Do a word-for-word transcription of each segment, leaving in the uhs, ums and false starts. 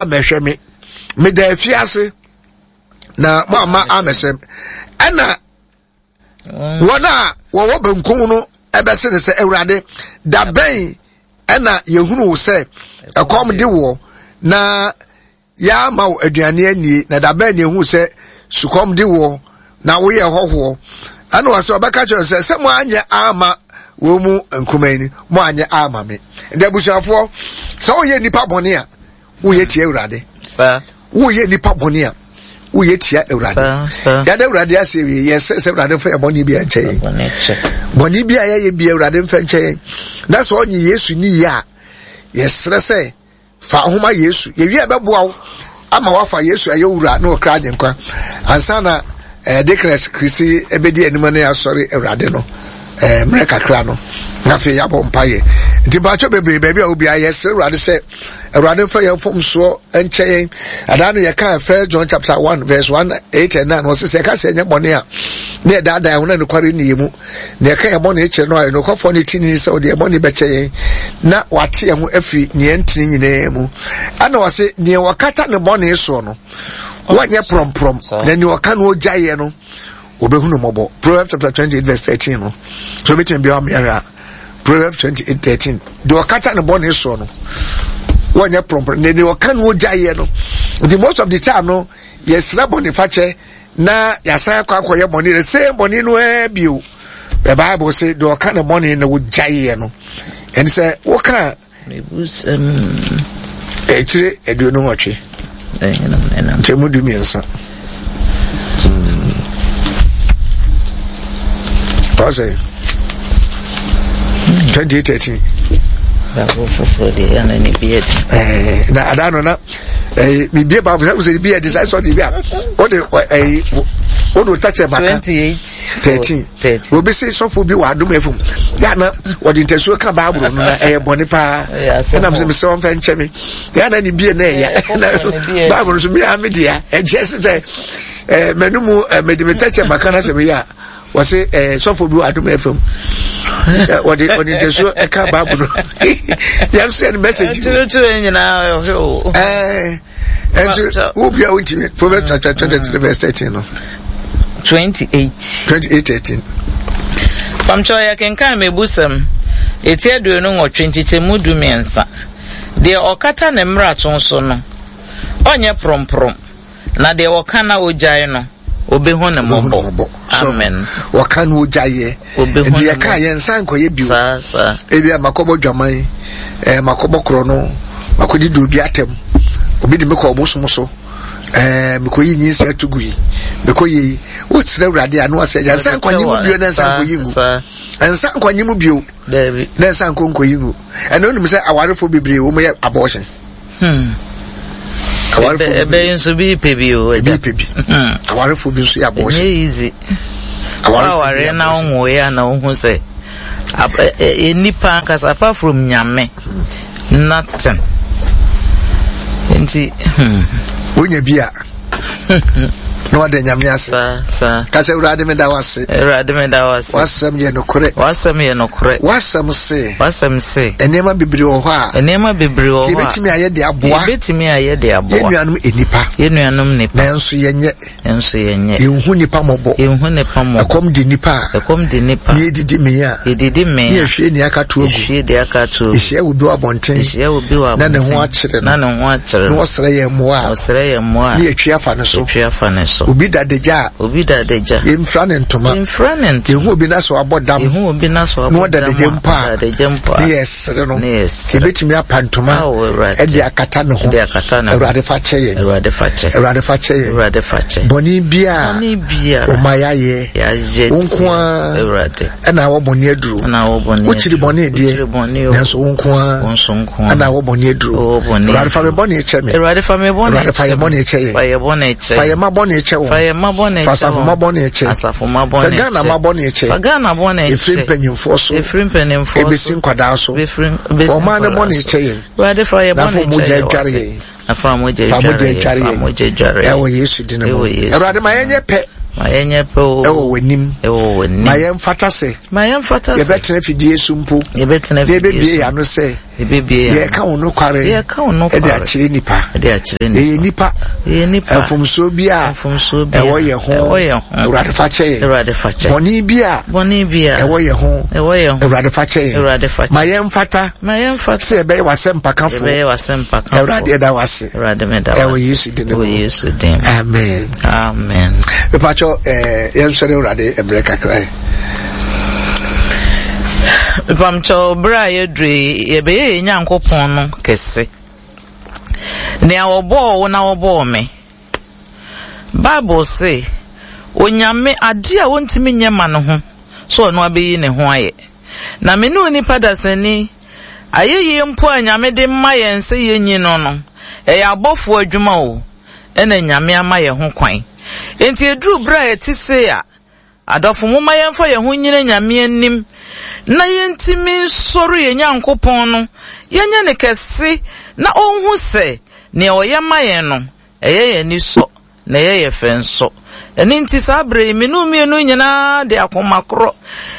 Mɛhwɛ me, meda afiase na mo ama amɛhyɛ. Ɛna wɔn a wɔwɔ benkum no ɛbɛse ne sɛ, Awurade, da bɛn ɛna yɛhunu wo sɛ ɛkɔm de woɔ na yɛama wo aduane anie, na da bɛn na yɛhunu sɛ sukɔm de woɔ na woyɛ hɔhoɔ? Ɛna wɔsɛ ɔbɛka kyerɛ sɛ, sɛ mo anyɛ ama wɔn mu nkuma yi, mo anyɛ ama me. Nti abusuafoɔ, sɛ woyɛ nipa bɔne a, woyɛ tia Awurade. Woyɛ nipa bɔne a, woyɛ tia Awurade. Yɛde Awurade ase wie, yɛsɛ sɛ Awurade mfa yɛ bɔne bi nkyɛ yɛn. Bɔne bi a yɛyɛ bi, Awurade mfa nkyɛ yɛn. Na sɛ ɔnye Yesu ni yie a, yɛsrɛ sɛ fa ahoma Yesu. Yɛwie a, ɛbɛboa wo ama wafa Yesu ayɛ wura ne ɔkra agyenkwa ansa na eh, Deaconess Kristi ɛbɛdi anim ne asɔre Awurade no eh, mmerɛ kakra no, na afei yɛabɔ mpayɛ. Nti mpakyɛ bebree, baabi a obiara, yɛsrɛ Awurade sɛ Awurade mfa yɛn mfomsoɔ nkyɛ yɛn. Ɛdaa no yɛka First John chapter one verse one eight and nine, wɔsɛ sɛ yɛka sɛ ɛnyɛ bɔne a, ne yɛdaadaa ho na nokware nni yɛn mu. Na yɛka yɛn bɔne kyerɛ no a, nokwafoɔ ne tini sɛ ɔde yɛn bɔne bɛkyɛ yɛn na wate yɛn ho afiri neɛ ntene nyinaa mu. Ɛna wɔse neɛ wɔkata ne bɔne soɔ no, wɔnyɛ prɔmprɔm, na neɛ ɔka no ɔgyaeɛ no, wɔbɛhunu mmɔbɔ. Proverbs chapter twenty-eight verse thirteen no so, wobɛtumi bia wameahwɛ a, Proverbs twenty-eight thirteen, deɛ ɔkata ne bɔne soɔ no, wɔnyɛ prɔmprɔm, na deɛ ɔka no ɔgyaeɛ no. Nti most of the time no, yɛsrɛ bɔne fakyɛ na yɛasan akɔ akɔyɛ bɔne, the same bɔne no ara bio. The Bible say deɛ ɔka ne bɔne na wɔgyaeɛ no, ɛne sɛ woka akyire aduonu nwɔtwe nkyɛmu du mmiɛnsa ɔsɛ twenty eight thirteen. Na ada no na mebie Bible sɛ sɛ bi ɛde sɛ sɛ ɔde bi a wode ɛyi wode wo takyɛ maka thirteen. Obi se sɔfo bi wɔ Adom F M yɛ na wɔde ntasuo ka Bible no na ɛyɛ bɔne paa, ɛnam sɛ mesɛ wɔmfa nkyɛ me yɛ na ne bie na ɛya na Bible no so mea me dea ɛkyɛ se sɛ m'ano mu mede me takyɛ maka no sɛ meyɛ a, wɔse ɛɛ sɔfo bi wɔ Adom F M, wɔde wɔde ntasuo ɛka Bible no, yɛn nso yɛ no message. Kyerɛkyerɛ nyinaa ɔhwɛ o. Ɛɛ ɛnti wo bia wontumi. Proverbs chapter twenty three verse thirteen no. Twenty eight. Twenty eight thirteen. Pamkyɛw, yɛ kenkan Mebusɛm eti aduonu nwɔtwe nkyekyɛmu du mmiɛnsa. Deɛ ɔkata ne mmarato so no, ɔnyɛ prɔmprɔm, na deɛ ɔka na ogyae no, obehu ne mmɔbɔ. Amen. Wɔka no ogyaeɛ, nti yɛka yɛn nsa nkɔyɛ bio. Ebi a makɔbɔ dwaman, ɛɛ makɔbɔ korɔ no, makɔdi di obi atɛm, obi de me kɔ ɔbosom so, ɛɛ mekɔyi nyinsɛn ato gu yi, mekɔyɛ yi, wosrɛ Awurade a na wasɛ yɛn nsa nkɔnye mu bio na nsa nkɔyi ngu, nsa nkɔnye mu bio na nsa nkɔ nkɔyi ngu. Ɛna onim sɛ awarefoɔ bebree wɔn yɛ abortion. Hmm. Awarefo bi nso bi pɛ bi o. Bi pɛ bi. Hmm. Awarefo bi nso yɛ abortion. Ɛnyɛ easy. Awarefo na ɔnwo yɛ na ɔhu sɛ nipa ankasa apart from Nyame, nothing. Nti. Hmm. Wonya bi a, na wada Nyame ase. Ka sɛ, Awurade, meda wo ase. Awurade, meda wo ase. W'asɛm yɛ nokorɛ. W'asɛm yɛ nokorɛ. W'asɛm se. W'asɛm se. Nneɛma bebree wɔ hɔ a. Nneɛma bebree wɔ hɔ a. Yɛbɛtumi ayɛ de aboa. Yɛbɛtumi ayɛ de aboa. Yɛn nuanom nnipa. Yɛn nuanom nnipa. Nanso yɛnyɛ. Nanso yɛnyɛ. Yɛnhu nipa mmɔbɔ. Yɛnhu nipa mmɔbɔ. Ɛkɔm de nipa a. Ɛkɔm de nipa. Ne yɛdidi mee a. Yɛdidi mee a. Ne yɛhwie nea aka to agu. Yɛhwie deɛ aka to agu. Yɛhyia obi wɔ abɔnten. Yɛhyia obi wɔ abɔnten. Na ne ho akyere no. Na ne ho akyere no. Na ɔsrɛ yɛn mmoa a. Ɔsrɛ yɛn mmoa a. Ne yɛtwi afa ne so. Yɛtwi afa ne so. Obi da adagya a. Obi da adagya. Yɛmfira ne ntoma. Yɛmfira ne ntoma. Yɛhu obi na so abɔ dam. Yɛhu obi na so abɔ dam. Na ɔda adagya mpo a. Adagya mpo a. Ne yɛsere no. Ne yɛsere. Yɛbɛtumi apa ntoma. Ɛde akata ne ho. Ɛde akata ne ho. Awurade, fa kyɛ yɛn. Awurade, fa kyɛ. Awurade, fa kyɛ yɛn. Awurade, fa kyɛ. Bɔne biara. Bɔne biara. Ɔma yɛayɛ. Yɛayɛ. Wo nko ara. Awurade. Ɛna awɔ bɔne aduro. Ɛna awɔ bɔne aduro. Wokyiri bɔne deɛ. Wokyiri bɔne o. Nanso wo nko ara. Wo nso nko ara. Ɛna awɔ bɔne aduro. Awɔ bɔne. Awurade, fa me bɔne kyɛ me. Awurade, fa me bɔne kyɛ. Awurade, fa yɛ bɔne kyɛ yɛn. Fa yɛ bɔne kyɛ. Fa yɛ ma bɔne kyɛ wɔn. Fa yɛ ma bɔne kyɛ wɔn. Fa asafo ma bɔne kyɛ. Asafo ma bɔne kyɛ. Fa Ghana ma bɔne kyɛ. Fa Ghana bɔne kyɛ. Efiri mpanyinfoɔ so. Efiri mpanyinfoɔ so. Ebesi nkwadaa so. Ebesi nkwadaa so. Ɔman no bɔne kyɛ yɛn. Awurade, fa yɛ Na fa bɔne kyɛ mogya yɛn. adware yɛn. Na fa mogya Fa mogya adware adware yɛn. Fa yɛn. mogya adware yɛn. Ɛwɔ Yesu din mu. Ɛwɔ Yesu. Awurade, ma yɛnyɛ pɛ. Ma yɛnyɛ pɛ o. Ɛwɔ w'anim. Ɛwɔ w'anim. Ma yɛmfata sɛ. Ma yɛmfata sɛ. Yɛbɛtena fidie so mpo. Yɛbɛtena Na fidie yɛbɛbie so. yɛn ano sɛ. Yɛbɛbie yɛn Yɛka wo nokware. Yɛka wo nokware. Ɛde akyerɛ nipa. Ɛde akyerɛ nipa. Ɛyɛ nipa. Ɛyɛ nipa. Mfomsoɔ bi a. Mfomsoɔ bi a. Ɛwɔ yɛn ho. Ɛwɔ yɛn ho. Awurade fa kyɛ yɛn. Awurade fa kyɛ. Bɔne bi a. Bɔne bi a. Ɛwɔ yɛn ho. Ɛwɔ yɛn ho. Awurade fa kyɛ yɛn. Awurade fa kyɛ. Ma yɛn mfata. Ma yɛn mfata. Sɛ yɛbɛyɛ w'asɛmpakafo. Yɛbɛyɛ w'asɛmpakafo. Awurade ɛda w'ase. Awurade meda w'ase. Ɛwɔ Yesu din mu. Ɛwɔ Yesu din mu. Amen. Amen. Mepakyɛw ɛɛ yɛn sɔre Awurade ɛbrɛ kakra yi. Mpamkyɛw bere a yɛduru yi yɛbɛyɛ yɛn Nyankopɔn no kɛse. Nea wɔbɔɔ wo na wɔbɔɔ me. Bible se, Onyame ade a wontumi nyɛ ma no ho, so ɔno abɛyi ne ho ayɛ. Na me ne onipa dasani, ayɛyie mpo a Nyame de ma yɛn sɛ yɛnyi no no, ɛyɛ abɔfoɔ adwuma o, ɛna Nyame ama yɛn ho kwan. Enti eduru bere a yɛte sei a, adɔfo momma yɛmfa yɛn ho nyina Nyame anim na yɛntumi nsɔre yɛn Nyankopɔn no, yɛnyɛ ne kɛse na ɔnhu sɛ nea ɔyɛ ma yɛn no, ɛyɛ yɛn ani sɔ na ɛyɛ yɛ fɛ nso. Ɛno nti saa bere yi, me ne mmienu nyinaa de akoma korɔ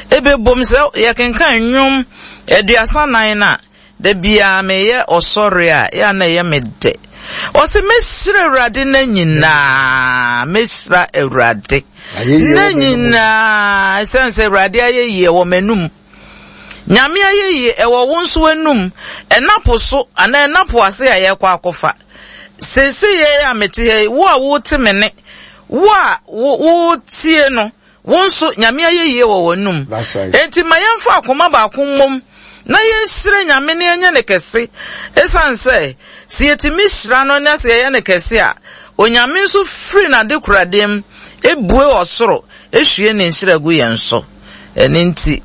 ebɛbom sɛ yɛkenkan nnwom aduasa nan no a, da biara meyɛ ɔsɔre a, yɛ a na ɛyɛ me dɛ. Ɔse mɛhyira Awurade na nyinaa, mɛhyira Awurade na nyinaa, ɛsiane sɛ Awurade ayɛ yie wɔ m'anum. Nyame ayɛ yie ɛwɔ wo nso w'anum. Ɛnapo so anaa ɛnapo ase a yɛkɔ akɔfa. Seesei yɛ a mete ha yi, wo a wote me ne, wo a wotie no, wo nso Nyame ayɛ yie wɔ w'anum. Enti ma yɛmfa akoma baako mmom na yɛnhyira Nyame na yɛnyɛ ne kɛse. Ɛsiane sɛ, sɛ yɛtumi hyira no na sɛ yɛyɛ ne kɛse a, Onyame nso firi n'adekoradeɛ mu ebue ɔsoro ehwie ne nhyira gu yɛn so. Ɛno nti,